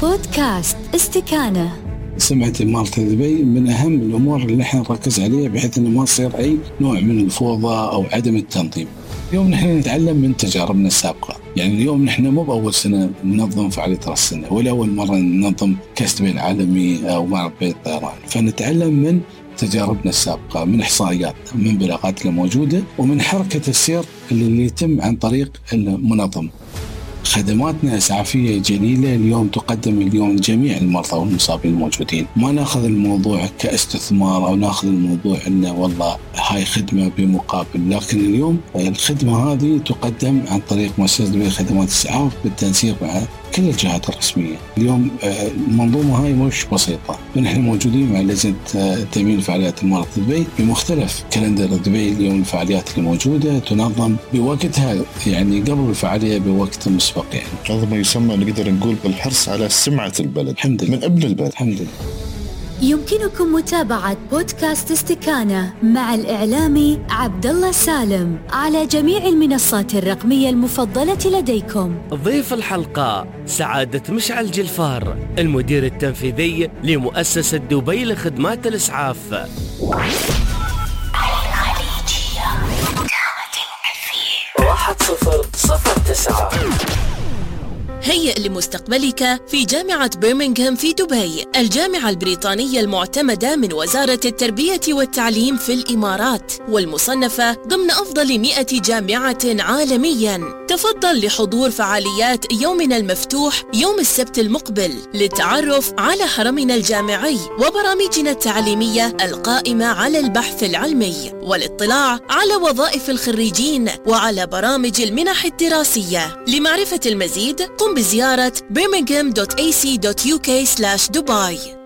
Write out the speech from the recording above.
بودكاست استكانة. سمعة إمارة دبي من أهم الأمور اللي نحن نركز عليها بحيث أنه ما يصير أي نوع من الفوضى أو عدم التنظيم. اليوم نحن نتعلم من تجاربنا السابقة، يعني اليوم نحن مو بأول سنة ننظم فعالية رأس السنة ولا أول مرة ننظم كأس دبي العالمي أو معرض بيت الطيران، فنتعلم من تجاربنا السابقة، من إحصائياتنا، من بلاغات الموجودة، ومن حركة السير اللي يتم عن طريق المنظم. خدماتنا إسعافية جليلة اليوم تقدم اليوم لجميع المرضى والمصابين الموجودين. ما ناخذ الموضوع كاستثمار أو ناخذ الموضوع إنه والله هاي خدمة بمقابل، لكن اليوم الخدمة هذه تقدم عن طريق مؤسسة دبي خدمات الإسعاف بالتنسيق مع كل الجهات الرسمية. اليوم المنظومة هاي مش بسيطة، ونحن موجودين مع لجنة تأمين فعاليات إمارة دبي بمختلف كالندر دبي. اليوم الفعاليات الموجودة تنظم بوقتها، يعني قبل الفعالية بوقت مسبق، يعني هذا ما يسمى نقدر نقول بالحرص على سمعة البلد الحمد لله. من قبل البلد. الحمد لله. يمكنكم متابعة بودكاست استكانة مع الإعلامي عبدالله سالم على جميع المنصات الرقمية المفضلة لديكم. ضيف الحلقة سعادة مشعل جلفار، المدير التنفيذي لمؤسسة دبي لخدمات الإسعاف. الخليجية 1009. هيئ لمستقبلك في جامعة برمنغهام في دبي، الجامعة البريطانية المعتمدة من وزارة التربية والتعليم في الإمارات، والمصنفة ضمن أفضل 100 جامعة عالمياً. تفضل لحضور فعاليات يومنا المفتوح يوم السبت المقبل للتعرف على حرمنا الجامعي وبرامجنا التعليمية القائمة على البحث العلمي، والاطلاع على وظائف الخريجين وعلى برامج المنح الدراسية. لمعرفة المزيد قم بزيارة birmingham.ac.uk/Dubai.